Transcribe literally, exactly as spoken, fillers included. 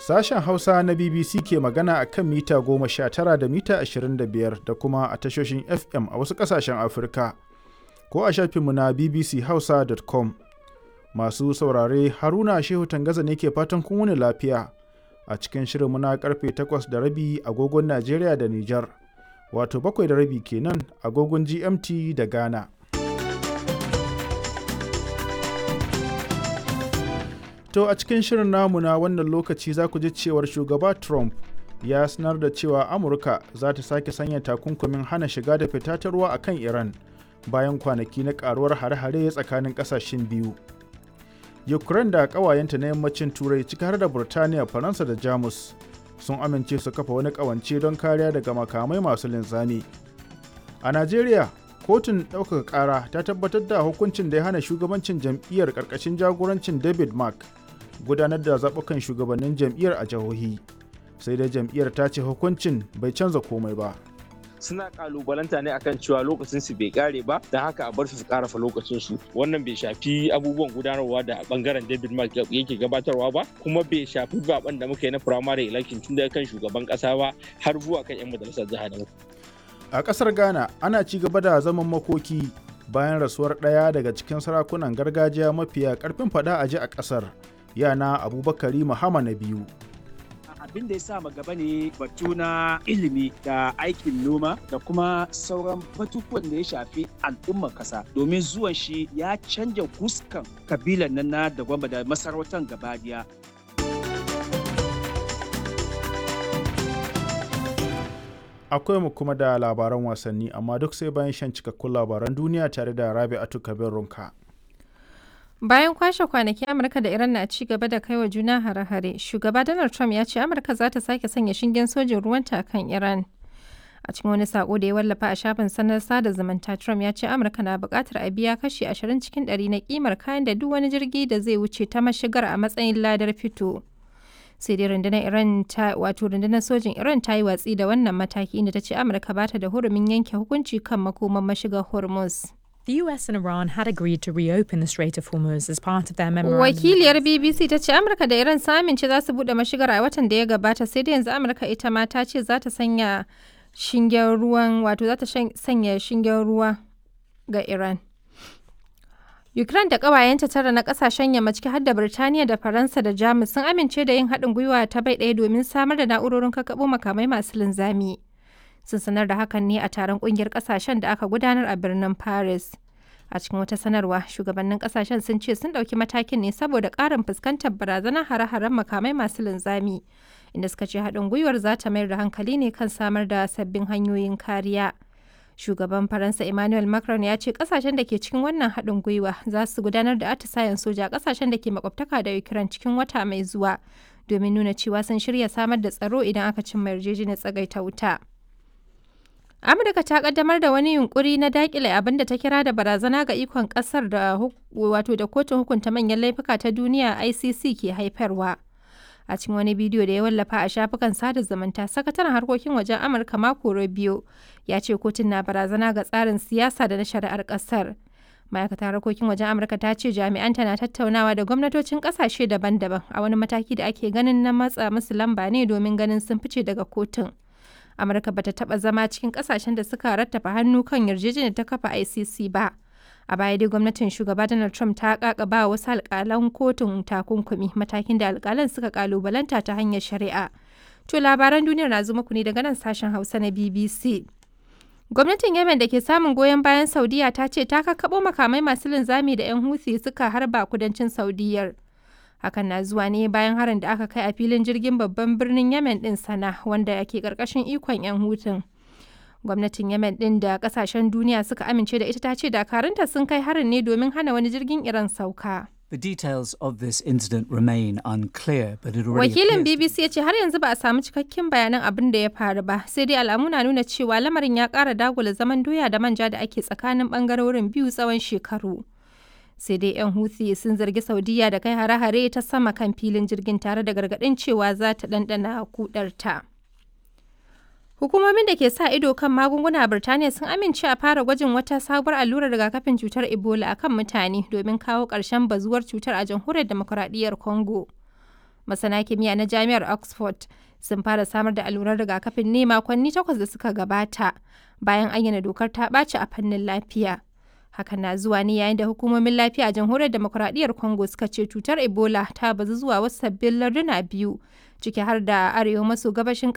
Sashen Hausa na B B C ke magana a kan mita goma sha tara da mita ashirin da biyar da kuma a tashoshin F M a wasu ƙasashen Afirka, ko a shafinmu na B B C Hausa dot com. Masu saurare, Haruna Shehu Tangaza ne ke fatan kun wuni lafiya a cikin shirinmu na karfe takwas da rabi agogon Najeriya da Nijar, wato bakwai da rabi kenan agogon G M T da Ghana. To, a cikin shirin namu na wannan lokaci za ku ji cewar Shugaba Trump ya sanar da cewa Amurka za ta sake sanya takunkumin hana shiga da fita ta ruwa a kan Iran bayan kwanaki na karuwar hare-hare tsakanin kasashen biyu. Ukraine da ƙawayenta na yammacin Turai, ciki har da Burtaniya, Faransa da Jamus, sun amince su kafa wani ƙawance don kariya daga makamai masu linzami. A Najeriya, kotun ɗaukaka ƙara ta tabbatar da hukuncin da ya hana shugabancin jam'iyyar ƙarƙashin jagorancin David Mark gudanar da zaɓukan shugabannin jam'iyyar a jihohi. Sai dai jam'iyyar ta ce hukuncin bai canza komai ba. Suna kalubalanta ne akan cewa lokacin su bai kare ba, don haka a bar su su karafa lokacin su. Wannan bai shafi abubuwan gudanarwa da bangaren David Mark yake gabatarwa ba, kuma bai shafi zaben da muka yi na primary election tun daga kan shugaban kasa ba har zuwa kan yan majalisar jiha da A kasar Ghana, ana ci gaba da zaman makoki bayan rasuwar ɗaya daga cikin sarakunan gargajiya mafiya karfin fada a ji a kasar, yana Abubakari Muhammad na biyu. Abin da ya sa gaba ne batu na ilimi da aikin noma da kuma sauran batutuwan da ya shafi al'ummar kasa, domin zuwan shi ya canja fuskan kabilan nan na da gwamba da masarautar gabadiya. Akwai mu kuma da labaran wasanni, amma duk sai bayan shan cikakkun labaran duniya tare da Rabi'atu Kabir Runka. Bayan kwashe kwanaki Amurka da Iran na ci gaba da kaiwa juna hare-hare, Shugaba Donald Trump ya ce Amurka za ta sake sanya shingen sojin ruwanta kan Iran. A cikin wani sako da ya wallafa a shafin sanar sada zumunta, Trump ya ce Amurka na buƙatar a biya kashi ashirin cikin ɗari na kimar kayan da duk wani jirgi da zai wuce ta mashigar a matsayin ladar fito. Sai dai rundunar Iran ta wato rundunar sojin Iran ta yi watsi da wannan mataki, inda ta ce Amurka ba ta da hurumin yanke hukunci kan makoman mashigar Hormuz. The U S and Iran had agreed to reopen the Strait of Hormuz as part of their memorandum. Wakiliyar B B C ta ce Amurka da Iran sun amince za su bude mashigar a watan da ya gabata, sai dai yanzu Amurka ita ma ta ce za ta sanya shingen ruwan, wato za ta sanya shingen ruwa ga Iran. Ukraine da ƙawayenta tara na ƙasashen yamma, ciki har da Birtaniya da Faransa da Jamus, sun amince da yin haɗin gwiwa ta bai ɗaya domin samar da na'urorin kakkaɓo makamai masu linzami. Sun sanar da hakan ne a taron ƙungiyar ƙasashen da aka gudanar a birnin Paris. A cikin wata sanarwa, shugabannin ƙasashen sun ce sun ɗauki matakin ne saboda ƙarin fuskantar barazanar hare-haren makamai masu linzami, inda suka ce haɗin gwiwar za ta mayar da hankali ne kan samar da sabbin hanyoyin kariya. Shugaban Faransa Emmanuel Macron ya ce kasashen da ke cikin wannan haɗin gwiwa za su gudanar da atisayen soja a kasashen da ke makwabtaka da Ukraine cikin wata mai zuwa domin nuna cewa sun shirya samar da tsaro idan aka cimma yarjejeniyar tsagaita wuta. Amurka ta kaddamar da wani yunkuri na dakile abin da ta kira da barazana ga ikon kasar da wato da kotun hukunta manyan laifuka ta duniya I C C ke haifarwa. A cikin wani bidiyo da ya wallafa a shafukan sada zumunta, sakataren harkokin wajen Amurka Marco Rubio ya ce kotun na barazana ga tsarin siyasa da na shari'ar kasar. Ma'aikatar harkokin wajen Amurka ta ce jami'anta na tattaunawa da gwamnatocin kasashe daban-daban a wani mataki da ake ganin na matsa musu lamba ne domin ganin sun fice daga kotun. Amurka bata taba zama cikin kasashen da suka rattafa hannu kan yarjejeniyar ta kafa I C C ba. A baya dai gwamnatin Shugaba Donald Trump ta kakaba wasu alkalan kotun takunkumi, matakin da alkalan suka kalubalanta ta hanyar shari'a. To, labaran duniyar na zo muku ne daga nan Sashen Hausa na B B C. Gwamnatin Yemen da ke samun goyon bayan Saudiya ta ce ta kakkaɓo makamai masu linzami da 'yan Houthi suka harba kudancin Saudiyar. Hakan na zuwa ne bayan harin da aka kai a filin jirgin babban birnin Yemen din Sana, wanda ke karkashin ikon 'yan Hutun. Gwamnatin Yemen din da kasashen duniya suka amince da ita ta ce dakarunta sun kai harin ne domin hana wani jirgin Iran sauka. The details of this incident remain unclear, but it already Wakilin appears to B B C ya ce har yanzu ba a samu cikakken bayanan abin da ya faru ba, sai dai alamu na nuna cewa lamarin ya ƙara dagula zaman doya da manja da ake tsakanin bangarorin biyu tsawon shekaru. Sai dai 'yan Houthi sun zargi Saudiya da kai hare-hare ta sama kan filin jirgin tare da gargaɗin cewa za ta ɗanɗana kudarta. Hukumomin da ke sa ido kan magunguna a Birtaniya sun amince a fara gwajin wata sabuwar allurar rigakafin cutar Ebola a kan mutane domin kawo ƙarshen bazuwar cutar a Jamhuriyar Demokuraɗiyyar Congo. Masana kimiyya na Jami'ar Oxford sun fara samar da allurar rigakafin ne makonni takwas da suka gabata bayan ayyana dokar ta ɓaci a fannin lafiya. Hakan na zuwa ne yayin da hukumomin lafiya a jamhuriyar demokuraɗiyyar Congo suka ce cutar Ebola ta bazu zuwa wasu sabbin larduna biyu ciki har da arewa maso gabashin